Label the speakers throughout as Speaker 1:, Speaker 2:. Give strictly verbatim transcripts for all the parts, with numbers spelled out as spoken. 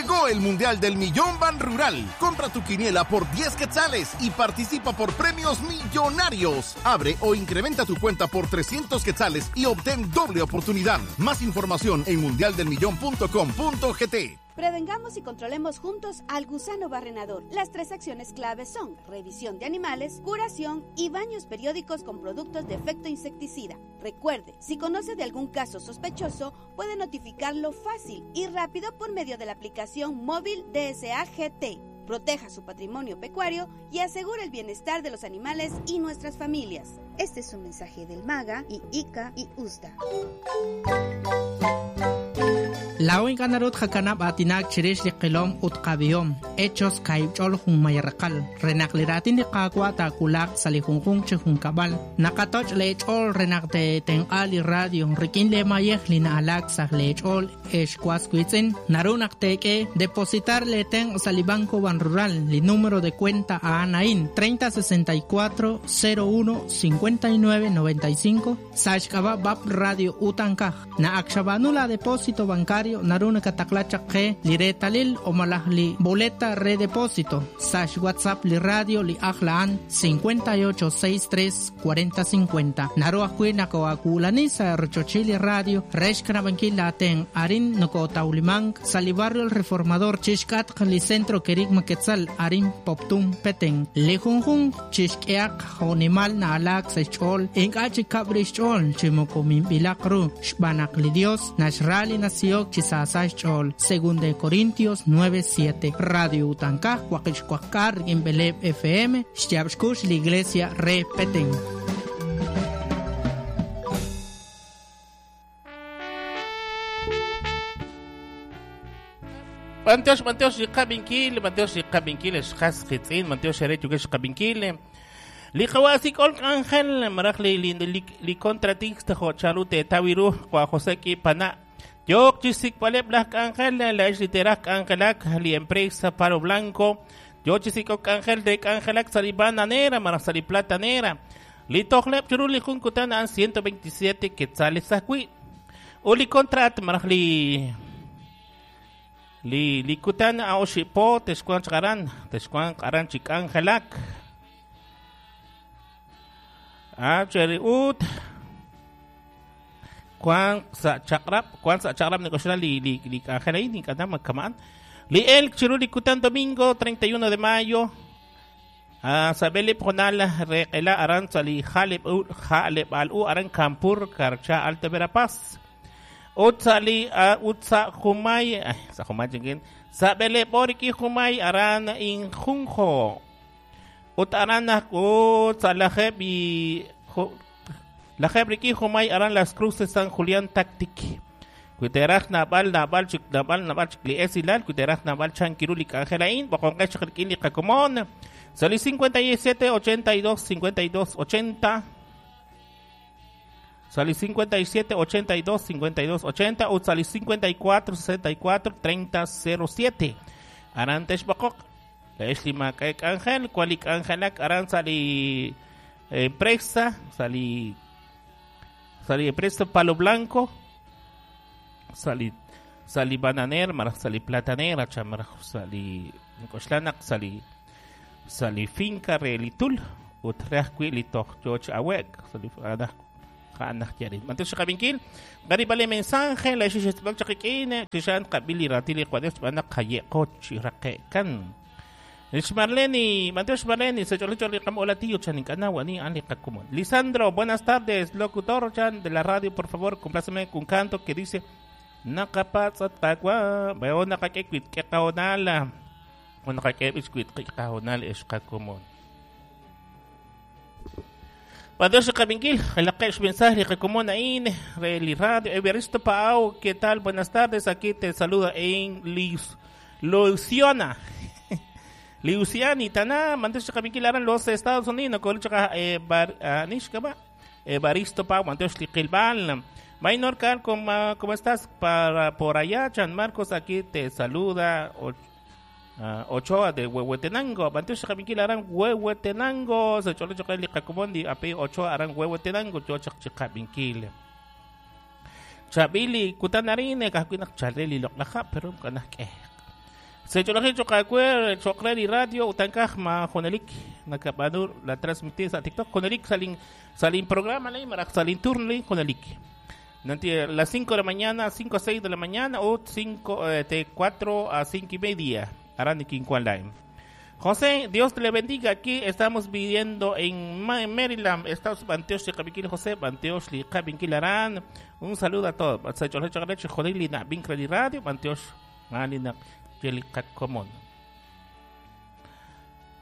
Speaker 1: Llegó el Mundial del Millón Banrural. Compra tu quiniela por diez quetzales y participa por premios millonarios. Abre o incrementa tu cuenta por trescientos quetzales y obtén doble oportunidad. Más información en mundial del millón punto com punto g t.
Speaker 2: Prevengamos y controlemos juntos al gusano barrenador. Las tres acciones claves son revisión de animales, curación y baños periódicos con productos de efecto insecticida. Recuerde, si conoce de algún caso sospechoso, puede notificarlo fácil y rápido por medio de la aplicación móvil D S A G T. Proteja su patrimonio pecuario y asegure el bienestar de los animales y nuestras familias. Este es un mensaje del MAGA y I C A y U S D A.
Speaker 3: Law inkanarut jakanab atinak chirish li qilom ut qabihom hechos kaibchol junmayarqal renaq liratin li qaqwa takulaq sali junjun chi junkabal naqatoch lechol renaq te tenqal li radio rikin le mayej li naalak saj lechol excuas kuitzin narunak teke depositar le ten sali banco Banrural li número de cuenta a anain treinta sesenta y cuatro cero uno cincuenta y nueve noventa y cinco sachkaba bab radio utankaj na akshabanula depósito bancario naruna kataklacha que liretalil o malahli boleta redepósito sash WhatsApp li radio li ajlaan cincuenta y ocho sesenta y tres cuarenta cincuenta naru ajwi nakoakulanisa rochochili radio reshkanabankil aten arin nokotaulimang sali barrio el reformador chishkat li centro kerigma quetzal arin poptum peten li junjun chishkeak jonimal na alak sechol inkachi kabrichol chimokomimbilakru xbanak li Dios nashrali nació Chisasachol, según de Corintios nueve siete. Radio Utancaj, Huaquixcuacar, en Beleb F M, Xtiabxcush, la Iglesia Repeten.
Speaker 4: Manteosh, manteosh, xikabinkil, manteosh, xikabinkil, xkas xitzin, manteosh, xarechu, xikabinkil. Liqawasik olk ángel, maraj li li li contratista jo charute tawiru, Juan José ki pana. Yok chisik palep las ángel, la es literal ángelac, li empresa Palo Blanco. Yo chisik ángel de ángelac salibananera, maraj saliplatanera. Li tojlep churuli junkutan an ciento veintisiete quetzales sakui. Uli contrat maraj li li likutan a oshipo texcuan chqaran, texcuan qaran chik ángelac. Ah, cheri ut. Juan sa chakrap, Juan sa chakrap negosyala li li li angelay ni kada magkamaan. Li el chiruli kutan domingo treinta y uno de mayo. Ah, sabeli pronal reqela aran sali jaleb u jaleb al u aran Campur Carcha Alta Verapaz. Utsali utsa humay sa humay jingin sabele boriki humay aran in junjo. Utaran utsa lajeb y la jebriki humay aran las cruces San Julián Tactic. Kuiteraj nabal nabal chik nabal nabal chik li esilal kuiteraj nabal chankirulik angelain bokonqech qirkili qakomon. Sali cincuenta y siete ochenta y dos cincuenta y dos ochenta. Sali cincuenta y siete ochenta y dos cincuenta y dos ochenta o sali cincuenta y cuatro sesenta y cuatro treinta cero siete. Arantesh bokok. La esli makaek ángel kualik angelak aran sali empresa sali sali empresa Palo Blanco, sali sali bananer, maraj sali platanera, chamaraj sali nkoshlanak, sali sali finca relitul, utraj li toch awek, sali anaj anaj yarin. Mantesh qabinkil, garibale mensaje, la xixet chakikine, tishan qabili ratili qades bana qayeqoch raqekan. Marleni, Mateus Marleni, se chole chole cam hola tío chan canawa ni ali kakumon. Lisandro, buenas tardes, locutor chan de la radio, por favor, compláceme con canto que dice nakapatsat takwa, veo nakakekwit kekaonala. O nakakebiskwit kekaonal eshkakumon. Mateus Kabinkil, el mensaje kakumon ain, reli radio, Evaristo Paau, ¿qué tal? Buenas tardes, aquí te saluda en Liz Luciana. Luciani, Tana, mantesh kabinkil aran los Estados Unidos, con chaka eh bar anishka Evaristo Pau, mantesh liqilbal. Maynor Car, ¿cómo, ¿cómo estás? Para por allá, Chan Marcos, aquí te saluda o, uh, Ochoa de Huehuetenango. Mantesh kabinkil aran Huehuetenango, se chole choca liqakumondi, api Ochoa aran Huehuetenango, chochak chikabinkil. Chabili, kutanarine, kakuinak chaleli loklaja, pero kanak eh. Secholaji choqawe choqre li radio utankaj ma jonelik nakabanur la transmitir sa TikTok jonelik salin salin programa lay marak salin turno lay jonelik. Nanti las cinco de la mañana, cinco a seis de la mañana o cinco eh, de cuatro a cinco y media. Arani Quincuan Line. José, Dios te le bendiga. Aquí estamos viviendo en Maryland, Estados Banteosh Kabinkil José, Banteosh Kabinkil Arán. Un saludo a todos. Radio, Banteosh Malina Comón.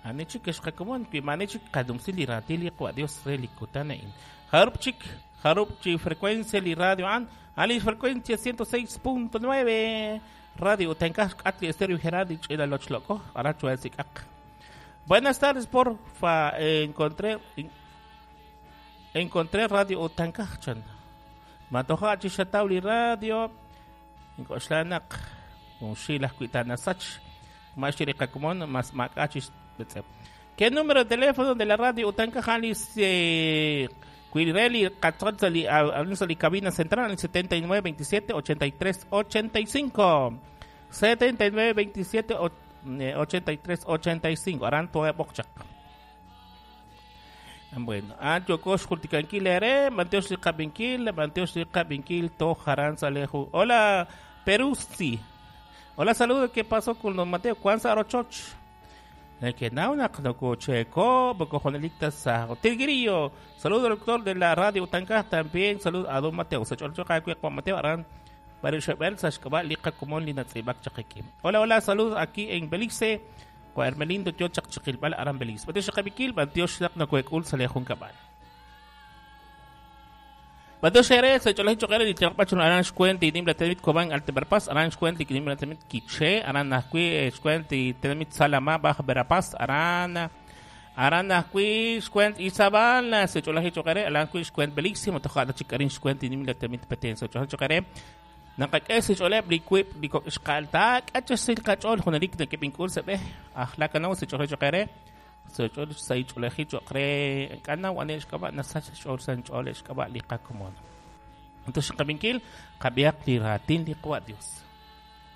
Speaker 4: Anichik Kakomon, Pimanechik Kadumsili Ratili, Dios Relicutanain. Harupchik, Harupchi, frecuencia li radio an, ali frecuencia ciento seis punto nueve. Radio Tenkas Atli Estéreo Gerardich el Lochloco, Aracho Ak. Buenas tardes, porfa. Eh, encontré en, encontré Radio Utankachan. Matoja Chishatawli Radio. Inkoxlanak. Unshila Kuitana Sach. Mashirikakumon, más Makachis. ¿Qué número de teléfono de la radio Utankajali? Eh, Cuireli, Catzonzali, Alonso cabina central, el setenta y nueve, veintisiete, ochenta y tres, ochenta y cinco. setenta y nueve, veintisiete, ochenta y tres, ochenta y cinco. Aranto Bokchak. Bueno, Antiocosh Culticanquil, Ere, Manteosh Cabinquil, Manteosh Cabinquil, Tojarán Salejo. Hola, Peruzzi. Hola, saludos. ¿Qué pasó con don Mateo? Juan Sarochoch. Que nauna checo, Tigrillo. Saludo al doctor de la radio Utancas también. Saludo a don Mateo. Mateo Arán. Hola, hola, saludos aquí en Belice. Hermelindo Tiochak Chiquilbal Arán Belice. Mateo Shakabikil, Mateo Shak Nakuekul Salejun Cabal. Mateo Shere, Secholaji Chokere, Lichakpacho Arán Shkuent y Nimla Temit Cobán Alteberpaz, Arán Shkuent y Nimla Temit Quiché, Arán Nazcui, Shkuent y Temit Salamá, Baja Verapaz, Arán Arán Nazcui, Shkuent Izabal, Secholaji Chokere, Arán Shkuent Belice, Motojada Chicarín Shkuent y Nimla Temit Petén, Secholaji Chokere. Nakak'es xoleb li kuib li kok'ixqaltak k'ach'sil kach'ol junelik nakipinkul seb'ej ajlakanaw sech'ol choqere sech'ol saych'oleji choqre k'anaw anel xk'ab'a nasach xch'ol sanch'ol xk'ab'a li qakomon. Entonces qabinkil qab'iaq li ratin li qwa Dios.